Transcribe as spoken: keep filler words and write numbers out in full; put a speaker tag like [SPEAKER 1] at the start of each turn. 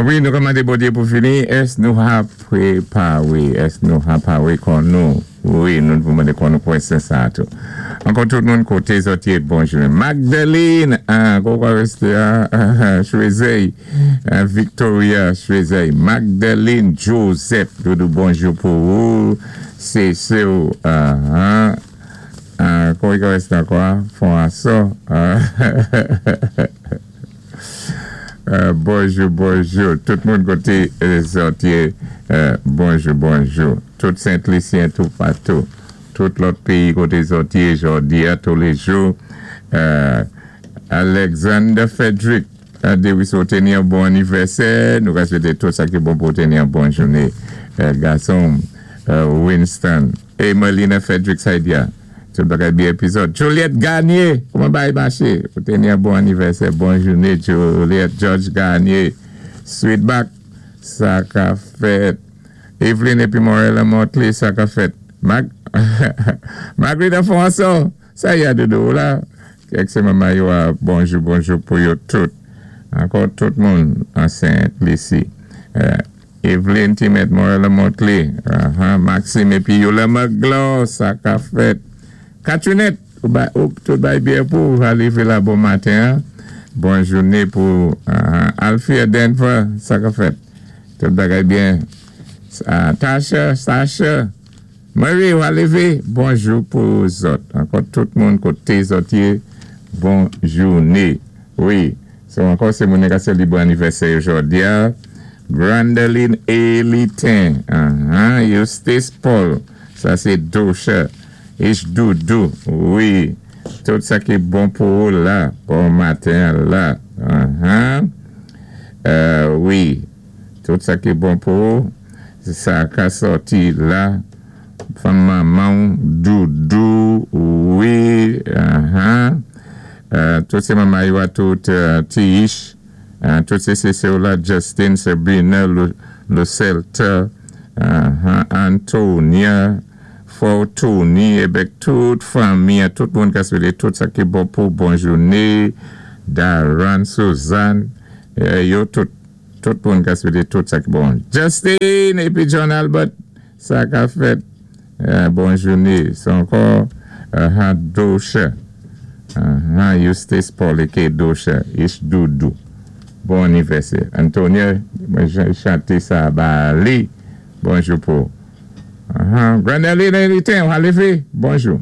[SPEAKER 1] Wi, nou ka mandé Bondyé pou fini. Ès nou ka pwépawé? Ès nou ka pawé kon nou? Wi, nou pou mandé kon nou kwèsyon sa tou. Ankò tout moun koté zòt yé, bonjou. Magdalene, ah, kwa résté, ah, Choisey, Victoria Choisey. Magdalene Joseph, doudou bonjou pou ou. C'est sûr, ah, ah, ah, kwa résté ankò? François. Ah, Euh, bonjou, bonjou. Tout moun koté zòt yé, euh, bonjou, bonjou. Tout Sent-Lisyen tou patou. Tout lòt péyi koté zòt yé, jòdi a touléjou. Euh, Alexander Frederick, déwi ou téni yon bon anivèsè. Nou ka swété tout sa ki bon pou téni yon bon jouné. Gason Winston. É Melina Frederick Saidia. Tout bagay byen épizòd. Juliette Garnier, kouman bagay maché? Pou téni yon bon anivèsè, bon jouné, Juliette George Garnier. Sweetback, sa ka fèt. Evelyn épi Morella Motley, sa ka fèt. Mag Marguerite François, sa ya doudou la. Kèk sé manman yo a bonjou, bonjou pou yo tout. Ankò tout moun an Sent-Lisi. Euh, Evelyn Timet Morella Motley, uh -huh. Maxime épi Yola Maglo, sa ka fèt. Katrinette, ou, ba, ou tout bay byen pou ou lévé la bon maten. Hein? Bon jouné pou uh, Alfia Denver, sa ka fèt. Tout bagay byen. Uh, Tasha, Sasha, Marie, ou lévé, bonjou pou zòt. Ankò tout moun koté zòt yé, bon jouné. Wi, so ankò sé moun ka sélébré anivèsè jòdi a. Grandeline Elitin, uh -huh. Eustace Paul, sa sé Dosha. Ich Doudou, wi. Tout sa ki bon pou ou la, bon maten la. Uh -huh. euh, wi, tout sa ki bon pou ou, sa ka sòti la. Fanm manman, Doudou, wi. Uh -huh. euh, tout sé manman yo tout euh, Tish, uh, tout sé sé la Justin, Sabrina, Lucelta, uh -huh. Antonia, Fortuny, avèk tout fanmi, tout moun ki swété tout sa ki bon pou bon jouné, Darren, Suzanne, yo tout, tout moun ki swété tout sa ki bon. Justin, épi John Albert, sa ka fèt, bon jouné. C'est ankò, uh, Dosha, uh, Eustace Paul, et Dosha, Ish Doudou. Bon anivèsè. Antonia, mwen chanté sa, ba li, bonjou pou. Uh -huh. Grandeline Elitin, ou lévé, bonjou.